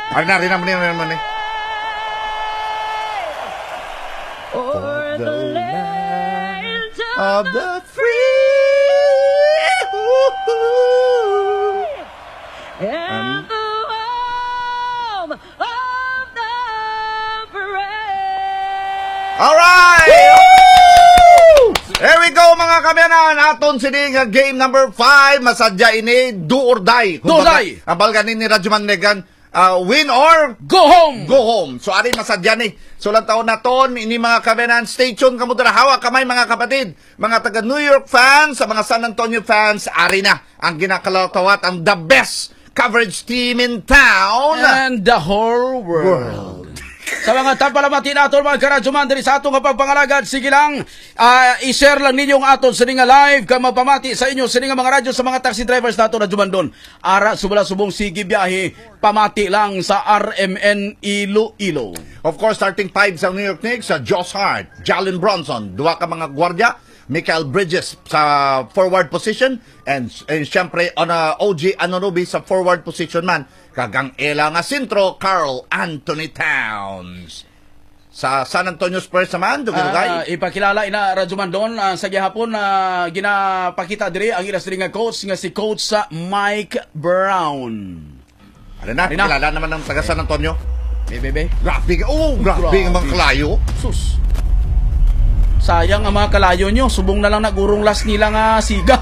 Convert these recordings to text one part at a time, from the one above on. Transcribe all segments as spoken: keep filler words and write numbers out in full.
Ari na, ari na, ari na, ari na. For the land of the free. And the home of the brave. Alright! Woo! Here we go, mga kaabyanan. Aton sini nga game number five. Masadya ini, do or die. Kumbaga, do or die. Ang balga ni Radyo Manlegan, ah, win or go home. Go home. So, ari masadya ni. So, lang taon naton, ini mga kaabyanan. Stay tuned kamo dira. Hawak kamay, mga kapatid. Mga taga New York fans, sa mga San Antonio fans, ari na ang ginakalawat-lawat, ang the best coverage team in town. And the whole world. World. Sa mga tagpalamati naton, mga karadyoman, diri sa aton nga pagpangalagad, sige lang, ah, i-share lang ninyo ang aton sini nga live, kag mapamati sa inyo sini nga mga radyo sa mga taxi drivers nato, Radyo Mandon. Ara, subala subong, sige biyahe, pamati lang sa R M N Iloilo. Of course, starting five sa New York Knicks, sa Josh Hart, Jalen Brunson, duha ka mga gwardya, Mikal Bridges sa forward position, and, and siyempre, on, uh, O G Anunoby sa forward position man, kag ang ila nga sentro, Karl Anthony Towns. Sa San Antonio Spurs naman, dugay-dugay. Ah, ipakilala ina, Radyo Mandon, ah, sa gihapon, ah, ginapakita diri ang ila sini nga coach nga si Coach, ah, Mike Brown. Ano na, Ano na? Kilala naman ng taga San Antonio. Be, be, be. Grabe, oh, grabe Grabe. Ang mga kalayo. Sus. Sayang ang mga kalayo nyo. Subong na lang nagurong last nila nga siga.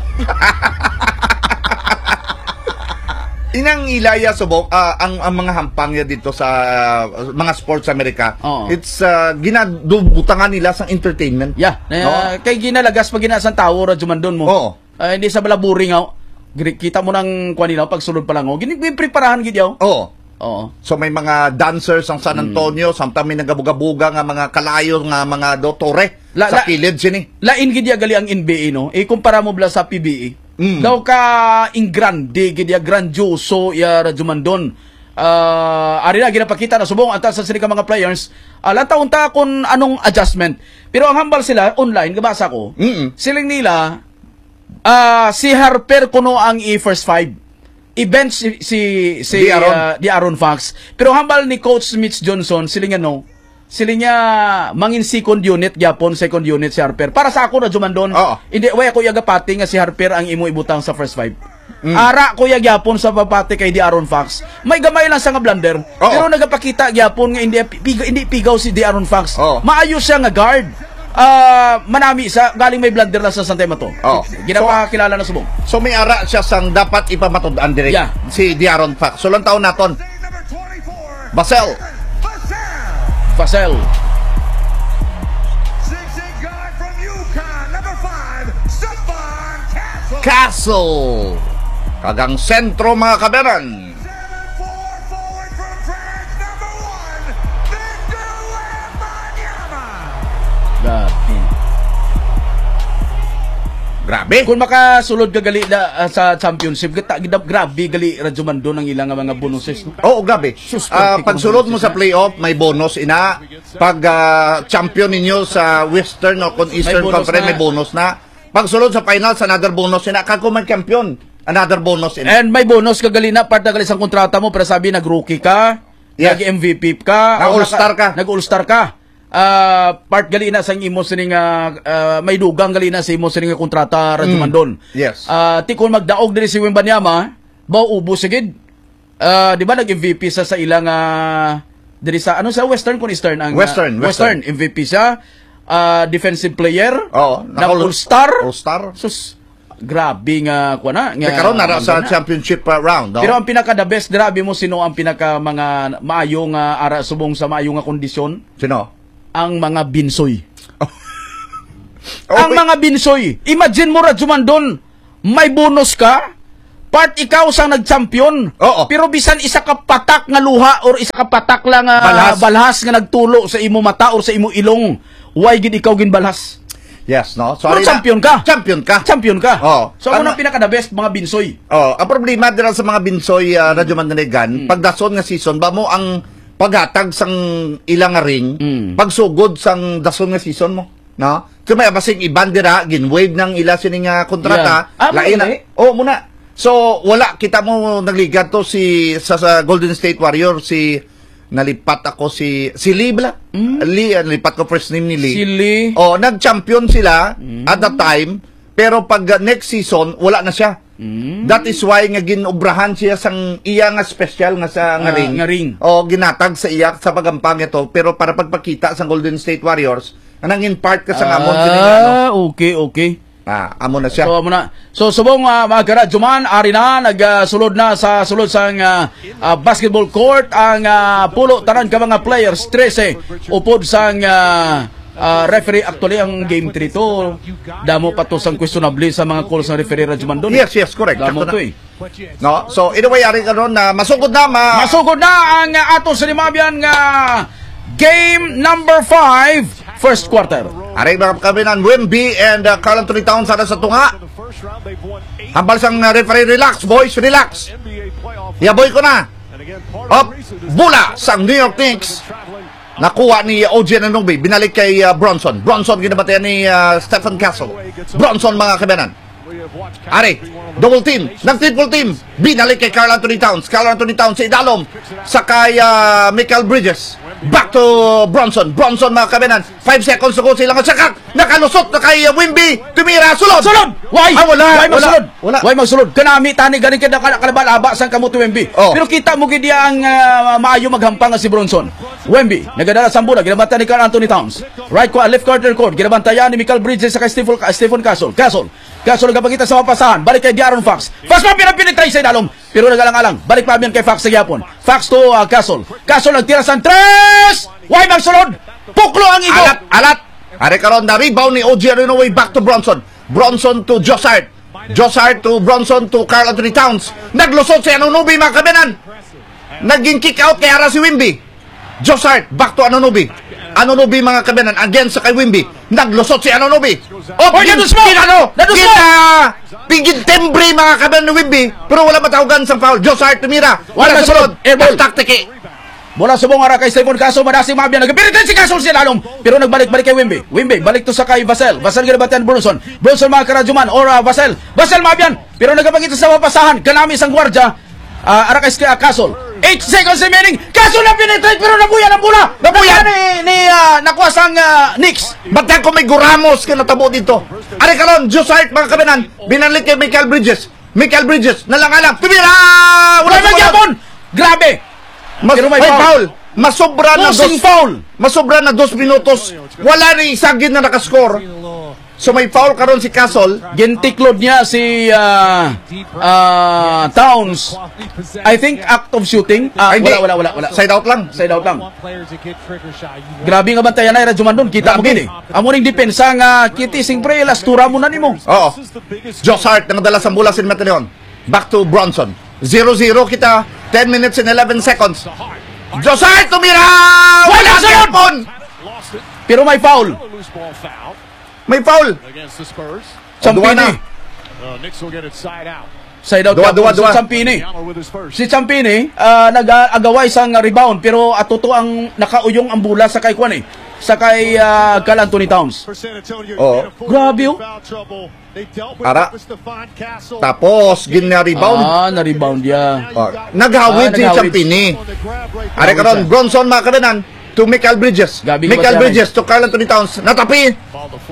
Inang ilaya subok, ah, ang, ang mga hampang niya dito sa, ah, mga sports sa Amerika. Oo. It's, ah, ginadubutangan nila sang entertainment. Yeah. Na, No? Kay ginalagas pa gina sang tawo, Radyo Mandon mo. Oo. Ah, hindi sa bala boring, oh. Gri-, kita mo nang kuha nila, pagsulod pa lang, oh. Gini-, ginipreparahan gid, oh. Oo. Oo. So, may mga dancers ang San Mm. Antonio, samtang may nagabuga-buga nga mga kalayo nga mga dotore La-, sa la-, kilid sini. Lain gid ya gali ang N B A, no? Ikumpara mo bala sa P B A. Mm. Daw ka ingrande gid ya, grandioso ya, Radyo Mandon. Ah, ari na, ginapakita na subong ang taas sa sini ka mga players. Ah, lantaw unta kung anong adjustment. Pero ang hambal sila, online, gabasa ko, Mm-mm. siling nila, ah, si Harper kuno ang i-first five. I-bench si, si, si, De'Aaron. ah, De'Aaron Fox. Pero hambal ni Coach Mitch Johnson, siling niya, no, siling niya, mangin second unit gyapon, second unit si Harper. Para sa ako, Radyo Mandon, Oo. hindi, way ako yagapati nga si Harper ang imo ibutang sa first five. Mm. Ara ko ya gyapon sa pagpati kay De'Aaron Fox. May gamay lang sa nga blunder, Oo. pero nagapakita gyapon nga hindi pi-, piga-, hindi pigaw si De'Aaron Fox. Oo. Maayo siya nga guard. Ah, manami sa galing may blunder lang sa Santa Mato. Oo. Ginapakilala na subong. So, may ara siya sang dapat ipamatud-an diri Yeah. si De'Aaron Fox. So, lang taon naton. Basel. Basel. Six-eight guy from UConn, number five, Stefan Castle. Castle. Kag ang sentro, mga kabenan. Seven four forward from France, number one, Victor Wembanyama. Grabe. Grabe. Kung makasulod ka gali na, ah, sa championship, gata-, gida-, grabe gali, Radyo Mandon, ang ilang nga mga bonuses, no? Oo, grabe. Sus, Ah, grabe pagsulod kung mo sa bonuses, playoff, may bonus, ina. Pag, ah, champion ninyo sa Western o kung Eastern bonus Conference, na. May bonus na. Pagsulod sa finals, another bonus, ina. Kag kung may champion, another bonus, ina. And may bonus ka gali na, part na gali sa kontrata mo, pero sabi, nag-rookie ka, Yes. nag-M V P ka, Na o all-star naka-, ka. nag-all-star ka. Ah, part gali na sa imo sining, ah, ah, may dugang gali na sa imo sining kontrata, Radyo Mm. Mandon. Yes. Ah, ti kung magdaog diri si Wembanyama, mauubos sigid. Ah, di ba nag-M V P sa, sa ilang, ah, diri sa, ano, sa Western kung Eastern ang, ah, Western, Western. Western, M V P siya. Ah, defensive player, Oo, nag naka-all-, all-star. All-star. Sus, grabe nga, kuha na, nga Te, karon nara sa banda na. championship, uh, round, no? Pero ang pinaka the best, grabe mo, sino ang pinaka mga maayo nga ara subong sa maayo nga kondisyon? Sino? Ang mga binsoy. Oh. Ang Okay. mga binsoy. Imagine mo, Radyo Mandon, may bonus ka, part ikaw sang nag-champion. Oo. Pero bisan isa ka patak nga luha or isa ka patak lang nga Balhas. balhas nga nagtulo sa imo mata or sa imo ilong, why gid ikaw ginbalhas? Yes, no? So, Pero ari na, champion ka. champion ka. Champion ka. Oo. So, amo Ang na pinaka the best, mga binsoy. Oh, ang problema dira sa mga binsoy, ah, Mm. Radyo Mandanegan, Mm. pag dason nga season, ba mo ang paghatag sang ilang nga ring, Mm. pagsugod sang dason nga season mo, no? So, may abasing iban dira, gin-waive nang ila sini nga kontrata, Yeah. Ah, lain na. Muna. Oh, muna. So, wala, kita mo, nagligat to si, sa, sa Golden State Warrior, si, nalipat ako si, si Lee bala? Mm. Lee, ah, nalipat ko first name ni Lee. Si Lee. Oh, nag-champion sila Mm. at the time, pero pag, uh, next season, wala na siya. Mm. That is why nga ginobrahan siya sang iya nga special nga sa, nga Ah, ring. nga ring. O, ginatag sa iya sa pagampang ito, pero para pagpakita sa Golden State Warriors, nga nangin part ka sa ngamon, sini nga, ano. Ah, okay, okay. Ah, amo na siya. So, amo na. So, subong, ah, mga karadyo man, ari na, nag, ah, sulod na sa sulod sang, ah, ah, basketball court ang, ah, pulo tanan ka mga players, trese, upod sang, ah, ah, referee. Actually, ang game three to, damo pa to sang questionable sa mga calls ng referee, Radyo Mandon. Yes, yes, correct. Damo Sakto to na. eh. No? So, anyway, ari karon na masugod na, ma- Masugod na ang, ah, ato sa Limabian nga game number five, first quarter. Ari, mga kabinan, Wimby and, uh, Karl Anthony Towns, ara sa tunga. Hambal sang, uh, referee, "Relax, boys, relax." Yaboy ko na. Up, bola sang New York Knicks. Nakuha ni O G Anunoby, binalik kay, uh, Bronson. Bronson, ginabantayan ni, uh, Stephen Castle. Bronson, mga kabinan. Ari, double team, nag-triple team. Binalik kay Karl Anthony Towns. Karl Anthony Towns sa idalom. Sa kay, ah, Mikal Bridges. Back to Bronson. Bronson, mga kabinan. Five seconds to go sila nga sakak. Nakalusot na kay, ah, Wimby. Tumira, sulod. Sulod! Why? Ah, wala, Why wala, magsulod? wala. Why magsulod? Kanami tani gani kay naka-, nakalaba-laba sang kamot ni Wimby. Oh. Pero kita mo gid ang, ah, maayo maghampang nga si Bronson. Wimby, nagadala sang bola, ginabanta ni Karl Anthony Towns. Right ko, left corner court, ginabantayan ni Mikal Bridges sa kay Stephen, Stephen Castle. Castle, Castle nagapakita sa mapasahan. Balik kay De'Aaron Fox. Fox pa, pinapenetrate sa idalom. Pero nagalang-alang. Balik pa yan kay Fox sa gyapon. Fox to, ah, Castle. Castle nagtira sa tres! Why magsulod? Puklo ang igo. Alat, alat. Ari karon na rebound ni O G Anunoby, back to Bronson. Bronson to Josh Hart. Josh Hart to Bronson to Karl Anthony Towns. Naglusot si Anunoby, mga kabinan. Naging kick out kay ara si Wimby. Josh Hart, back to Anunoby. Anunoby, mga kabinan, again sa kay Wimby. Naglusot si Anunoby. Oh, Oy, gin-, nadusmo! Ginano? Nadusmo! Gina-, pigin timbre, mga kabinan, ni Wimby. Pero wala matawagan sang foul. Josh Hart tumira. Wala Wala sa sunod. Air ball. Taktiki. Mula subong ara kay Stephen Castle, madasig Mabian. Nagpiritan si Castle sa lalom. Pero nagbalik-balik kay Wimby. Wimby, balik to sa kay Vassell. Vassell ginabantayan Bronson. Bronson, mga karadyo man, or, ah, Vassell. Vassell, Mabian. Pero nagapakita sa mapasahan. Kanami sang gwardya. Ah, ara kay, ah, Castle. Eight seconds remaining. Castle na penetrate, pero nabuya ang bola. Nabuya. Nabuya ni, ni, ah, nakuha sang, ah, Knicks. Ba't ako may guramos ka natabo dito? Ari karon, Josh Hart, mga kabinan. Binalik kay Mikal Bridges. Mikal Bridges, nalang-alang. Tumira! Wala Wala sa gyapon! Grabe! Mas, Pero may may foul. foul. Masobra na Forcing dos, foul. masobra na dos minutos. Wala ni isa gid na nakascore. So may foul karon si Castle. Gintiklod niya si, ah, ah, Towns. I think act of shooting. Ah, Ay, hindi. wala, wala, wala, wala. Side out lang. Side out lang. Grabe nga bantayan na, Radyo Mandon. Kita mo Grabe. gini. Amo ning depensa nga, Kitty, siyempre, lastura mo na nimo. Oo. Josh Hart, nang dala sa bola si Mataleon. Back to Bronson. Zero zero kita. Ten minutes and eleven seconds. Josh Hart, tumira! Wala Wala sunod! gyapon! Pero may foul. May foul. Against the Spurs. Dua na. Champini. Uh, Knicks will get it side out. Side out Dua, yapon dua, si dua. Champini. Yama with his first. Si Champini, ah, nag-agaway sang rebound, pero ato to ang nakauyong ang bola sa kay kuan eh. Sa kay, ah, Karl Anthony Towns. For San Antonio, Oo. in a full Grabe, oh. foul trouble. They dealt with Ara. it with Stefan Castle. Tapos, gin-rebound. Ah, na-rebound ya. Oh, naghawid Ah, si naghawid. Champini. On the grab right Are there. karon, Bronson, mga kabinan, to Mikal Bridges. Gabi Mikal ka ba, Bridges to Karl Anthony Towns. Natapi.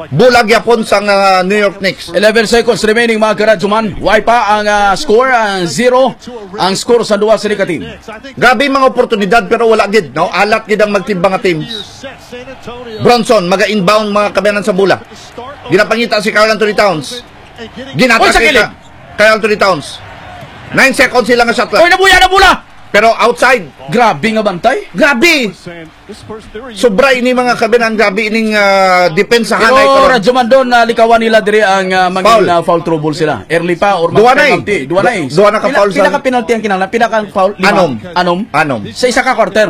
Bulag yapon sang, ah, New York Knicks. Eleven seconds remaining, mga karadyo man. Way pa ang, ah, score, ang zero. Ang score sa duwa sini ka team. Grabe mga oportunidad, pero wala gid, no? Alat gid ang magtimbang nga team. Bronson, maga-inbound, mga kabiyanan, sa bola. Ginapangita si Karl Anthony Towns. Ginatake Oy, sa kilid. ka, Karl Anthony Towns. Nine seconds sila nga shot clock. Oy, nabuya na bola! Pero outside. Grabe nga bantay. Grabe. Sobra ini, mga kabiyanan, grabe ining, ah, depensahan Pero ay karon. Radyo Mandon, na likawan nila diri ang, ah, mangin, Foul. ah, foul trouble sila. Early pa or Duwa na eh. penalty. Duwa na eh. Du-, duwa na ka Pina-, foul sa pinaka-penalty ang kinahanglan, pinaka-foul, lima. Anom. Anom? Anom. Sa isa ka quarter.